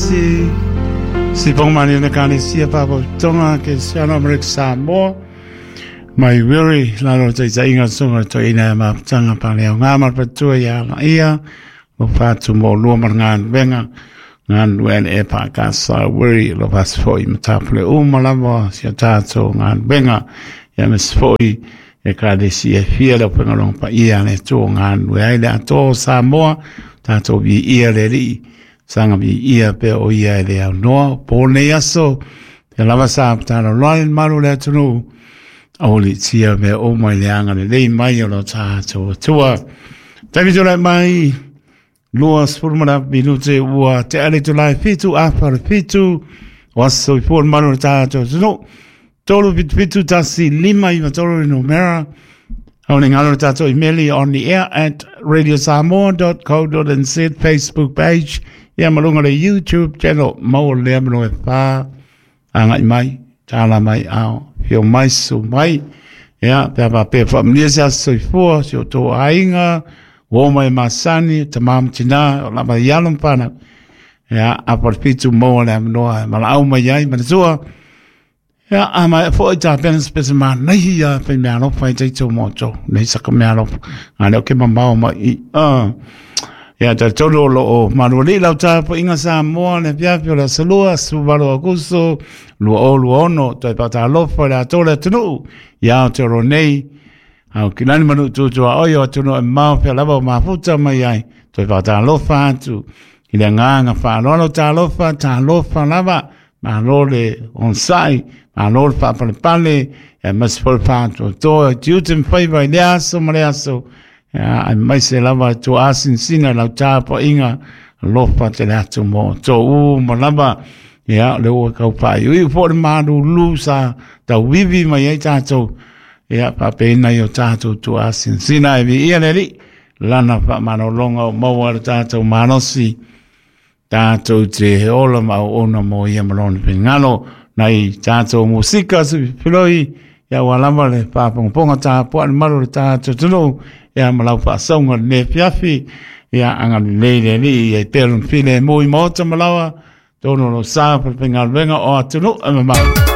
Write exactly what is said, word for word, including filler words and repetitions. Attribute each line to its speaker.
Speaker 1: tasi si pongmani na kane sia pa tonga ke siano Amerika Samoa mai wiri lalo te inga songa to ina ma tanga pa leo ngā marpatua ia la ia lo fatu mo lua mar ngā venga ngā nuen e pa ka sa wiri lo pas foi matapule uma lava sia tātou ngā venga ia mes foi e ka de si e fia le pengalong pa ia le tō ngā nue ai le ato Samoa tātou vi ia le li sanga vi ia pe o ia le au noa po nei aso te lava sa tāna loa maru le atunu o li tia me o mai le anga le lei mai o lo tātou tua tavi tō lai mai lua sfurmana minute ua te ale tō lai fitu awhara fitu waso i pō maru le tātou tunu tolu pitu pitu tasi lima iwa tolu no mera Au ni ngalo tātou email on the air at radio samoa dot co dot n z Facebook page ia malunga le YouTube channel mau lea mano e whā angai mai tāla mai ao fio mai su mai ia pea pa pea whaamnia se aso i fua si o tō ainga o mai masani ta mamtina o lava ialum pana ia aparpitu mau lea manoa mala au mai ai manatua ia a mai foi ta pena spesa ma nei ia pe mea alofa i teito moto nei saka mea alofa a leo ke mamao mai i a ia ta tolu lo o manuali lau ta po inga Samoa le piapi o la salua subaru agusto lua o lua ono toi pata alofa le atola tunu ia o te ro nei au kilani manu tutua oio tunu e mau pia lava o mafuta mai ai toi pata alofa atu i le nganga whaaloalo ta alofa ta alofa lava malo le onsai malo le whapalepale ia masifo whātua toa tiutem whaiva i le aso ma le aso ia ai mai se lava tō asinsina lau tāpa inga lofa te le atu mō tō u ma lava ia le ua kau pai ui fo le malu lu sa tau wiwi mai ai tātou ia papena i o tātou tō asinsina e vi ia le li lana wha manolonga o maua le tātou manosi tātou te he ola ma o ona mo ia malone pingalo nei tātou musika su piloi ia walama le pāpongaponga tā poa le maru le tātou tunu ia malau whaasonga le fiafi ia anga le le li ia i perun file mui mota malawa tōno lo sā pa pingalwenga o atunu e mamau.